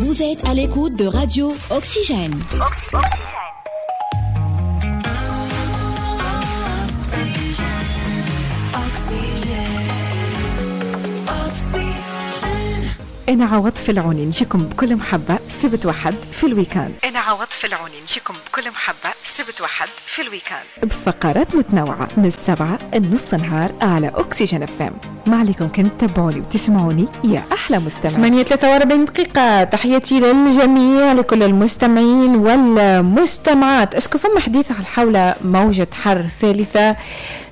Vous êtes à l'écoute de Radio Oxygène. أنا عوض العوني نجيكم بكل محبة سبت وحد في ال week-end. أنا عوض العوني نجيكم بكل محبة سبت وحد في ال week-end بفقرات متنوعة من 7 لنص نهار على أكسجين FM. ما عليكم كان تتابعوني وتسمعوني يا أحلى مستمع. 8:43 دقيقة. تحياتي للجميع، لكل المستمعين والمستمعات. est-ce que فما حديث على حول موجة حر ثالثة؟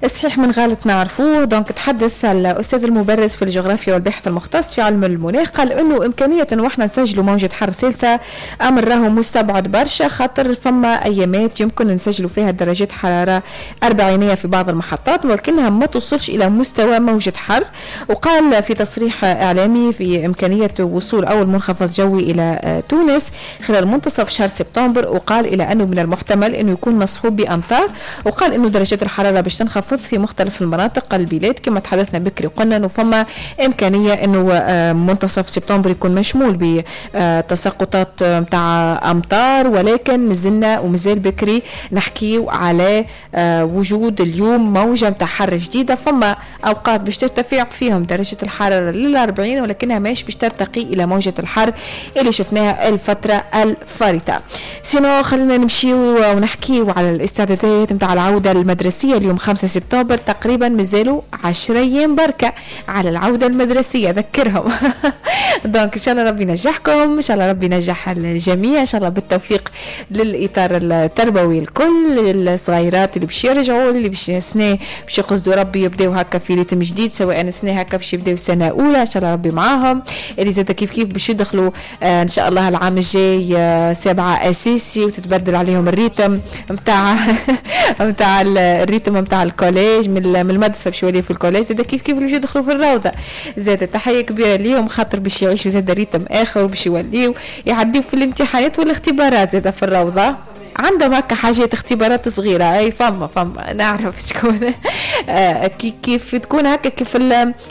الصحيح من غلط نعرفوه. donc تحدث الأستاذ المبرز في الجغرافيا والباحث المختص في علم المناخ، قال انه امكانية انه احنا نسجلوا موجه حر ثالثة امر راهو مستبعد برشا، خاطر فما ايامات يمكن نسجلوا فيها درجات حرارة 40 في بعض المحطات، ولكنها ما توصلش الى مستوى موجه حر. وقال في تصريح اعلامي في امكانية وصول اول منخفض جوي الى تونس خلال منتصف شهر سبتمبر، وقال الى انه من المحتمل انه يكون مصحوب بامطار، وقال انه درجات الحرارة باش تنخفض في مختلف المناطق البلاد كما تحدثنا بكري، وقلنا انه فما امكانية انه منتصف سبتمبر يكون مشمول بتساقطات متاع امطار، ولكن مازلنا ومازال بكري نحكيو على وجود اليوم موجه متاع حر جديدة. فما اوقات باش ترتفع فيهم درجه الحرارة لل40، ولكنها ماهيش باش ترتقي الى موجه الحر اللي شفناها الفترة الفارطه. sinon خلينا نمشيو ونحكيو على الاستعدادات متاع العودة المدرسية اليوم 5 سبتمبر، تقريبا مازالوا 10 ايام بركة على العودة المدرسية، ذكرهم. donc ان شاء الله ربي ينجحكم، ان شاء الله ربي ينجح الجميع، ان شاء الله بالتوفيق للاطار التربوي الكل، الصغيرات اللي باش يرجعوا، اللي باش سنة باش يقصدوا ربي يبداو هكا في rythme جديد، سواء سنة هكا باش يبداو سنة اولى ان شاء الله ربي معاهم، اللي زاد كيف كيف باش يدخلوا ان شاء الله العام الجاي 7 اساسي وتتبدل عليهم ال rythme نتاع نتاع ال rythme نتاع ال collège من المدرسة باش يوليو في ال collège، زاد كيف كيف باش يدخلوا في الروضة. زاد تحية كبيرة ليهم خاطر باش يعيشوا زاد rythme اخر وباش يوليو يعديو في الامتحانات والاختبارات زاد في الروضة. عندهم هكا حاجات اختبارات صغيرة، اي فما نعرف شكون كيف تكون هكا، كيف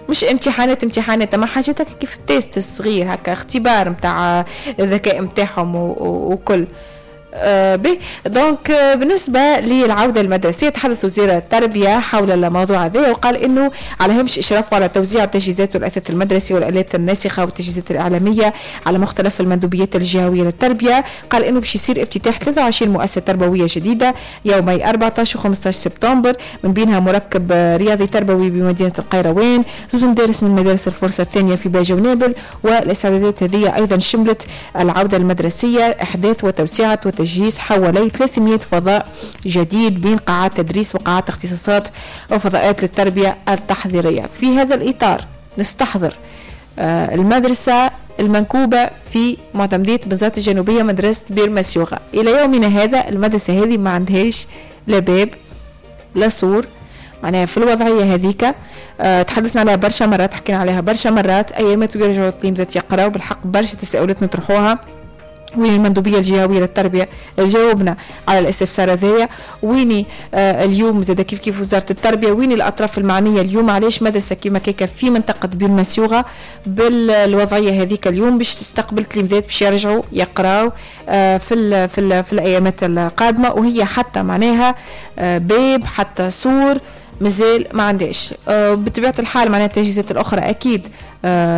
مش امتحانات ما حاجات هكا كيف ال test الصغير هكا، اختبار نتاع الذكاء نتاعهم وكل. به donc بالنسبة للعودة المدرسية تحدث وزير التربية حول الموضوع هذا، وقال انه على هامش اشرافه على توزيع التجهيزات والاثاث المدرسي والالات الناسخه والتجهيزات الاعلامية على مختلف المندوبيات الجهوية للتربية، قال انه باش يصير افتتاح 23 مؤسسة تربوية جديدة يومي 14 و15 سبتمبر، من بينها مركب رياضي تربوي بمدينة القيروان، زوج مدارس من مدارس الفرصة الثانية في باجة ونابل. والاستعدادات هذه ايضا شملت العودة المدرسية، احداث وتوسعه وتجهيز حوالي 300 فضاء جديد بين قاعات تدريس وقاعات اختصاصات وفضاءات للتربية التحضيرية. في هذا الإطار نستحضر المدرسة المنكوبة في معتمدية بنزرت الجنوبية، مدرسة بير مسيوغة. إلى يومنا هذا المدرسة هذه ما عندهاش لا باب لا سور، معناها في الوضعية هذيك. تحدثنا عليها برشا مرات، حكينا عليها برشا مرات، أيامات ويرجعوا التلاميذ يقراوا. بالحق برشا تساؤلات نطرحوها، وين المندوبيه الجهوية للتربية جاوبنا على الاستفسار هذايا؟ ويني اليوم زاد كيف كيف وزارة التربية؟ وين الاطراف المعنية اليوم؟ علاش مدرسه كيما كيكا في منطقة بير مسيوغه بالوضعيه هذيك اليوم باش تستقبل تلاميذات باش يرجعوا يقراو في ال في ال في الايامات القادمة، وهي حتى معناها باب حتى سور مازال ما عندهاش. بطبيعة الحال معناها التجهيزات الاخرى اكيد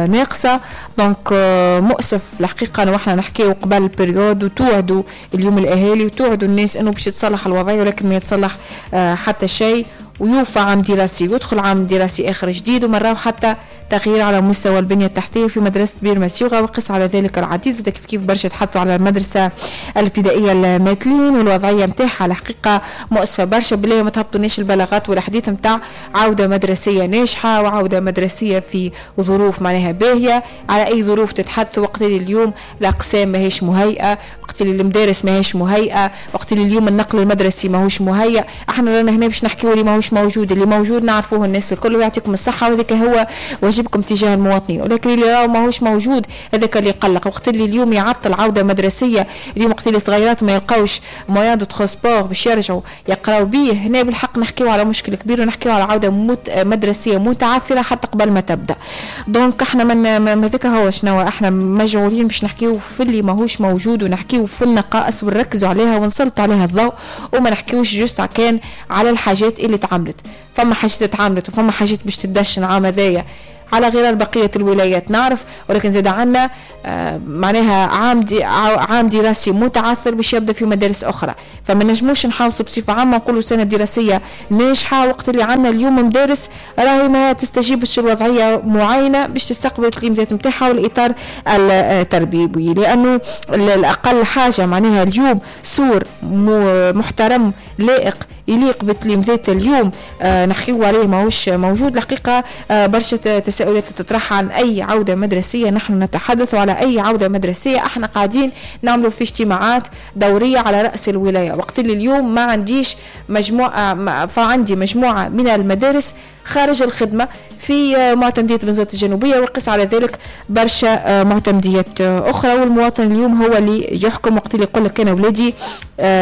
ناقصه. donc مؤسف الحقيقة انه احنا نحكيو قبل ال période وتوعدوا اليوم الاهالي وتوعدوا الناس انه باش يتصلح الوضعية، ولكن ما يتصلح حتى شيء، ويوفى عام دراسي ويدخل عام دراسي اخر جديد، ومراو حتى تغيير على مستوى البنية التحتية في مدرسه بير مسيوغه، وقس على ذلك العديد. كيف كيف برشا تحطوا على المدرسة الابتدائية الماتلين والوضعيه نتاعها الحقيقة مؤسفة برشا. بالله ما تهبطوناش البلاغات والحديث نتاع عوده مدرسيه ناجحة وعوده مدرسيه في ظروف معناها باهيه. على اي ظروف تتحدث وقت اللي اليوم الاقسام ماهيش مهيئة، وقت اللي المدارس ماهيش مهيئة، وقت اللي اليوم النقل المدرسي ماهوش مهيئ. احنا رانا هنا باش نحكيو اللي ماهوش موجود، اللي موجود نعرفوه الناس الكل، ويعطيكم الصحة، وهذاك هو واجبنا واجبكم تجاه المواطنين، ولكن اللي راهو ماهوش موجود هذاك اللي يقلق. وقت اللي اليوم يعطل عوده مدرسيه، اليوم وقت اللي الصغيرات ما يلقاوش moyen de transport باش يرجعوا يقراو بيه، هنا بالحق نحكيو على مشكل كبير ونحكيو على عوده مدرسيه متعثره حتى قبل ما تبدا. donc احنا من هذاك هو شنو احنا مجعولين باش نحكيو في اللي ماهوش موجود، ونحكيو في النقائص ونركزوا عليها ونسلطوا عليها الضوء، وما نحكيوش juste كان على الحاجات اللي تعملت. فما حاجات تعملت وفما حاجات باش تدشن عام هذايا على غرار بقية الولايات نعرف، ولكن زاد عنا معناها عام دراسي متعثر باش يبدا في مدارس أخرى، فما نجموش نحاوصوا بصفة عامة نقولوا سنة دراسية ناجحة وقت اللي عنا اليوم مدارس راهي ما تستجيبش الوضعية معينة باش تستقبل التلميذات نتاعها والإطار التربوي، لأنه الأقل حاجة معناها اليوم سور محترم لائق يليق بالتلميذات اليوم نحكيو عليه ماهوش موجود. الحقيقة برشا تساؤلات تطرح عن أي عودة مدرسية نحن نتحدث على أي عودة مدرسية. احنا قاعدين نعملوا في اجتماعات دورية على رأس الولاية، وقت اللي اليوم ما عنديش مجموعة، فعندي مجموعة من المدارس خارج الخدمة في معتمدية بنزرت الجنوبية، وقس على ذلك برشا معتمديات أخرى. والمواطن اليوم هو اللي يحكم وقت اللي يقول لك أنا ولادي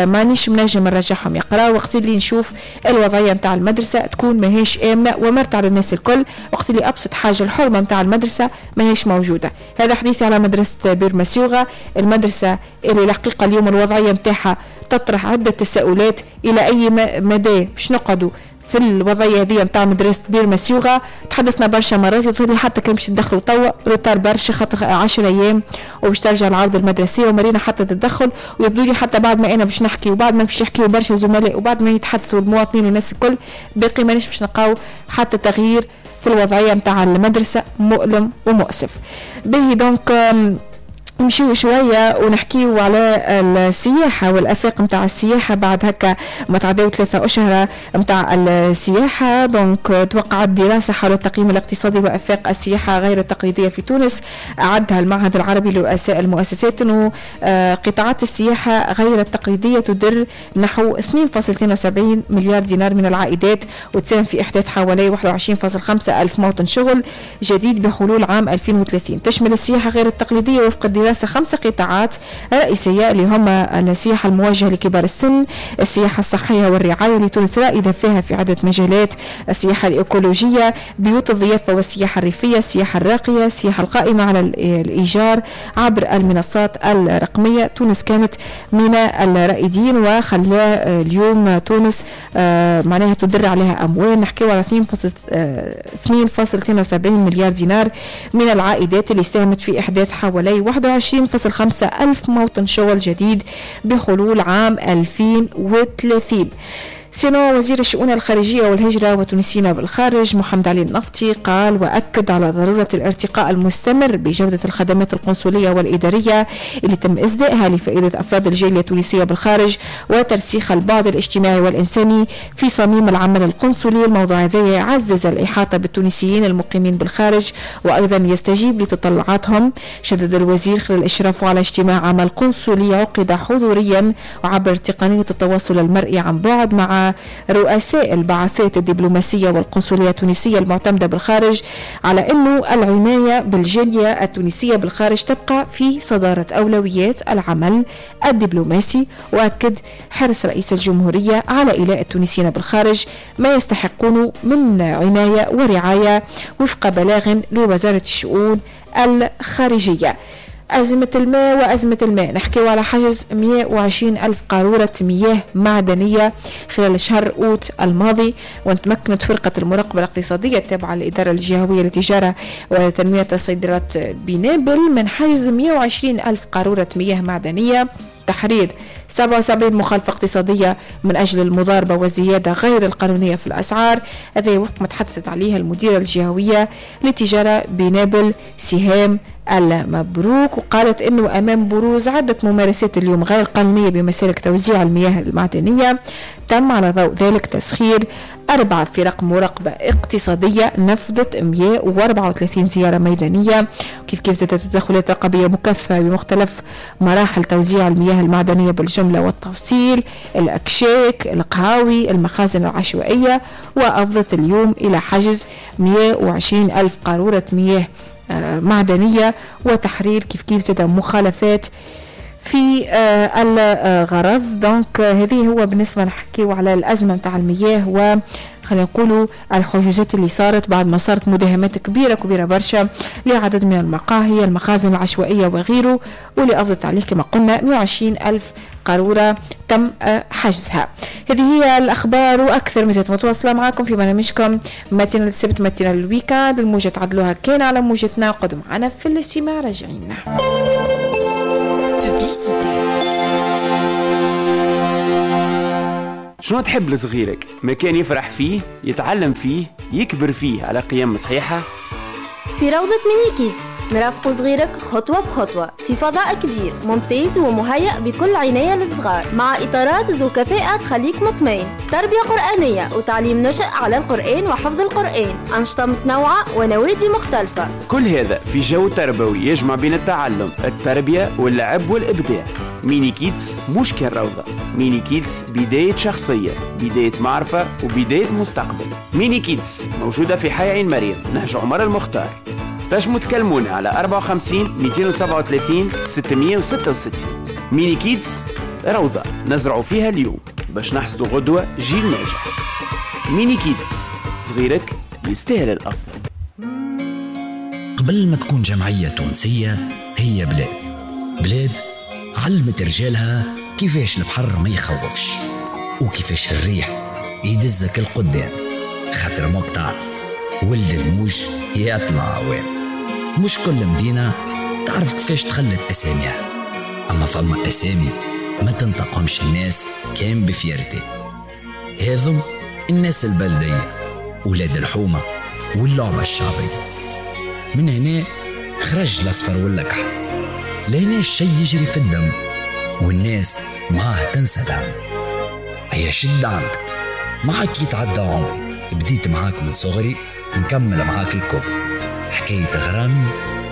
مانيش منجم نرجعهم يقرا، وقت اللي نشوف الوضعية متاع المدرسة تكون ماهيش آمنة ومرتع للناس الكل، وقت اللي أبسط حاجة الحرمة متاع المدرسة ماهيش موجودة. هذا حديثي على مدرسة بير مسيوغة، المدرسة اللي الحقيقة اليوم الوضعية متاعها تطرح عدة تساؤلات إلى أي مدى باش نقعدوا في الوضعية هذه نتاع مدرسه بير مسيوغه. تحدثنا برشا مرات يظهر حتى كان باش تدخلوا توا retard برشا، خاطر 10 ايام وباش ترجع العودة المدرسية، ومرينا حتى تتدخل. ويبدو لي حتى بعد ما انا باش نحكي وبعد ما باش يحكيوا برشا زملاء وبعد ما يتحدثوا المواطنين والناس الكل، باقي مانيش باش نلقاو حتى تغيير في الوضعية نتاع المدرسة، مؤلم ومؤسف. باهي donc نمشيو شوية ونحكيو على السياحة والأفاق متاع السياحة بعد هكا ما تعداو 3 أشهر متاع السياحة. donc توقعت دراسة حول التقييم الاقتصادي وأفاق السياحة غير التقليدية في تونس، أعدها المعهد العربي لرؤساء المؤسسات، أنه قطاعات السياحة غير التقليدية تدر نحو 2.72 مليار دينار من العائدات، وتساهم في إحداث حوالي 21.5 ألف موطن شغل جديد بحلول عام 2030. تشمل السياحة غير التقليدية وفق الدراسة 5 قطاعات رئيسية اللي هما السياحة الموجهة لكبار السن، السياحة الصحية والرعاية اللي تونس رائدة فيها في عدة مجالات، السياحة الإيكولوجية، بيوت الضيافة والسياحة الريفية، السياحة الراقية، السياحة القائمة على الإيجار عبر المنصات الرقمية. تونس كانت من الرائدين وخلى اليوم تونس معناها تدر عليها أموال، نحكيو على 2.72 مليار دينار من العائدات اللي ساهمت في إحداث حوالي 21.5 ألف موطن شغل جديد بحلول عام 2030. sinon وزير الشؤون الخارجية والهجرة والتونسيين بالخارج محمد علي النفطي قال وأكد على ضرورة الارتقاء المستمر بجودة الخدمات القنصلية والإدارية اللي تم إسدائها لفائدة أفراد الجالية التونسية بالخارج وترسيخ البعد الاجتماعي والإنساني في صميم العمل القنصلي. الموضوع هذا يعزز الإحاطة بالتونسيين المقيمين بالخارج وأيضا يستجيب لتطلعاتهم. شدد الوزير خلال إشرافه على اجتماع عمل قنصلي عقد حضوريا وعبر تقنية التواصل المرئي عن بعد مع رؤساء البعثات الدبلوماسية والقنصلية التونسية المعتمدة بالخارج على أنه العناية بالجالية التونسية بالخارج تبقى في صدارة أولويات العمل الدبلوماسي. وأكد حرص رئيس الجمهورية على إيلاء التونسيين بالخارج ما يستحقونه من عناية ورعاية وفق بلاغ لوزارة الشؤون الخارجية. أزمة الماء وأزمة الماء، نحكيو على حجز 120 ألف قارورة مياه معدنية خلال شهر أوت الماضي. وتمكنت فرقة المراقبة الاقتصادية التابعة للإدارة الجهوية للتجارة وتنمية الصادرات بنابل من حجز 120 ألف قارورة مياه معدنية، تحرير 77 مخالفة اقتصادية من أجل المضاربة والزيادة غير القانونية في الأسعار. هذا وفق ما تحدثت عليها المديرة الجهوية للتجارة بنابل سهام المبروك. وقالت أنه أمام بروز عدة ممارسات اليوم غير قانونية بمسالك توزيع المياه المعدنية، تم على ضوء ذلك تسخير 4 فرق مراقبة اقتصادية نفذت 134 زيارة ميدانية. كيف زادت التدخلات الرقابية مكثفة بمختلف مراحل توزيع المياه المعدنية بالجملة والتفصيل، الأكشاك، القهاوي، المخازن العشوائية، وأفضت اليوم إلى حجز 120 ألف قارورة مياه معدنية وتحرير كيف زاد مخالفات في الغرض. donc هذه هو بالنسبة نحكيو على الأزمة متاع المياه و خلينا نقولوا الحجوزات اللي صارت بعد ما صارت مداهمات كبيرة برشا لعدد من المقاهي، المخازن العشوائية وغيره، واللي أفضت عليه كما قلنا 120 ألف قارورة تم حجزها. هذه هي الأخبار وأكثر مازالت متواصلة معكم في برنامجكم matinale السبت، matinale ال week-end. الموجة تعدلوها كان على موجتنا، قدوا معنا في الاستماع راجعين. شنو تحب لصغيرك؟ مكان يفرح فيه، يتعلم فيه، يكبر فيه على قيم صحيحة؟ في روضة ميني كيدز نرافق صغيرك خطوة بخطوة في فضاء كبير ممتاز ومهيأ بكل عناية للصغار، مع إطارات ذو كفاءة تخليك مطمئن، تربية قرآنية وتعليم نشأ على القرآن وحفظ القرآن، أنشطة متنوعة ونوادي مختلفة. كل هذا في جو تربوي يجمع بين التعلم، التربية واللعب والإبداع. ميني كيدز مش كان روضة، ميني كيدز بداية شخصية، بداية معرفة وبداية مستقبل. ميني كيدز موجودة في حي عين مريم، نهج عمر المختار. تنجموا تكلمونا على 54 237 666. ميني كيدز روضة نزرع فيها اليوم باش نحصدوا غدوة جيل ناجح. ميني كيدز صغيرك يستاهل الأفضل. قبل ما تكون جمعية تونسية هي بلاد، بلاد علمت رجالها كيفاش البحر ما يخوفش وكيفاش الريح يدزك القدام، خاطر ماك تعرف ولد الموش يطلع عوام. مش كل مدينة تعرف كيفاش تخلد أساميها، أما فما أسامي ما تنطقهمش الناس كان ب fierté. هذم الناس البلدية، ولاد الحومة واللعبة الشعبية. من هنا خرج الأصفر واللكحة، لهنا الشي يجري في الدم والناس معاه تنسى دم. هيا شد عندك معاك يتعدى عمري، بديت معاك من صغري نكمل معاك الكبر. حكاية غرامي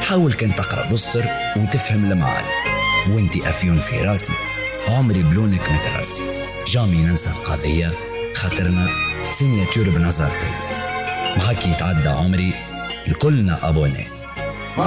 حاول كان تقرأ بصر وتفهم المعاني، وانتي أفيون في راسي عمري بلونك متراسي. jamais ننسى القضية خاطرنا signature بنظرتي. معاك يتعدى عمري الكلنا abonnés.